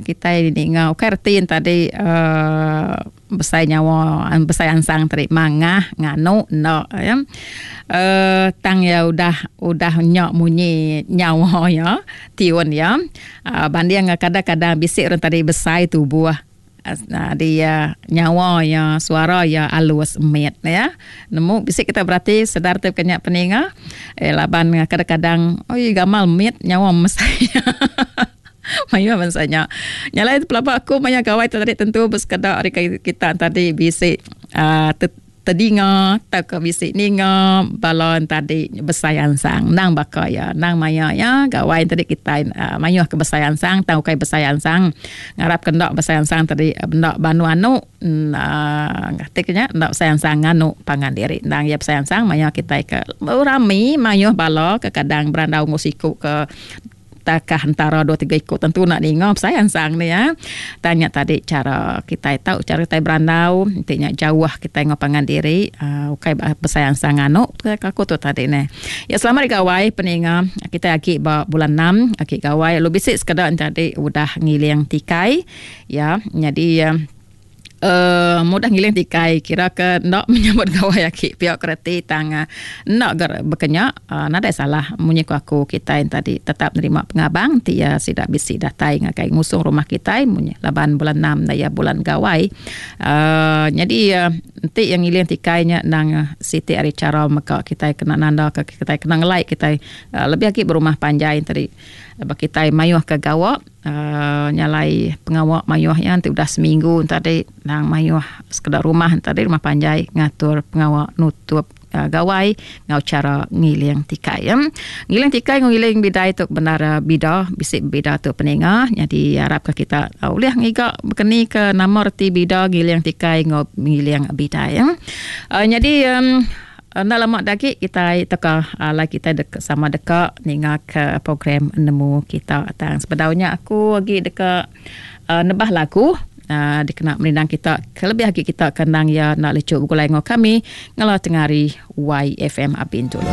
Kitai ninga ukai reti ne tadi uhh besai nyawa besai ansang tadi mangah nganu enda ya. Uhh tang iya udah udah nya munyi nyawa iya tiun iya uhh banding kadang kadang bisi orang tadi besai tubuh. Di iya nyawa iya suara iya alus mit ya. Nemu bisi kita berati sedar ti ke nya peninga eh laban kadang kadang oi gamal mit nyawa mesai mayuh bansa nya. Nya alai pelaba aku maya gawai tu tadi tentu besekeda ari kita tadi bisi uhh Tedinga tauka bisi ninga bala entadi besai ansang endang baka iya endang maya iya gawai tadi kitai mayuh ke besai ansang tang ukai besai ansang ngarap ke enda besai ansang tadi enda banu anu uhh ti ke nya enda besai ansang nganu pangan diri endang iya besai ansang maya kitai ke rami mayuh bala kekadang berandau enggau siku ke Takah entara dua tiga iku tentu enda ninga besai ansang ne ya. Tang nya tadi chara kitai tau chara kitai berandau enti nya jauh kitai enggau pangan diri uhh ukai besai ansang nganu ke aku tu tadi neh. Ya selamat hari gawai peninga kitai agi ba bulan enam agi gawai lalu bisi sekeda enti tadi udah ngiling tikai ya nyadi uhh mudah ngiling tikai kira ke enda menyambut gawai agi pia ke reti tang enda ga baka nya uhh nadai salah munyi ku aku kitai tadi tetap nerima pengabang ti iya sida bisi datai ngagai ngusung rumah kitai munyi laban bulan enam enda iya bulan gawai uhh nyadi enti iya ngiling tikai nya endang siti ari chara mega kitai kena nanda ka kitai kena ngelai kitai lebih agi berumah panjai tadi ba kitai mayuh ke gawa. uhh Nya alai pengawa mayuh iya enti udah seminggu tadi nang mayuh sekeda rumah tadi rumah panjai ngatur pengawa nutup uhh gawai enggau chara ngiling tikai. Ngiling tikai enggau ngiling bidai tu bendar bida bisi bida tu peninga nyadi arap ka kita ulih ngiga bekeni ke nama reti bida ngiling tikai enggau ngiling bidai. uhh Nyadi uhh Enda lama da agi kitai tauka alai kitai deka sama deka ninga ke program nemu kita. Tang sebedau nya aku agi deka uhh nebah lagu uhh dikena merindang kita kelebih agi kita ke endang iya enda lechu begulai enggau kami ngela tengah hari YFM Abin dulu.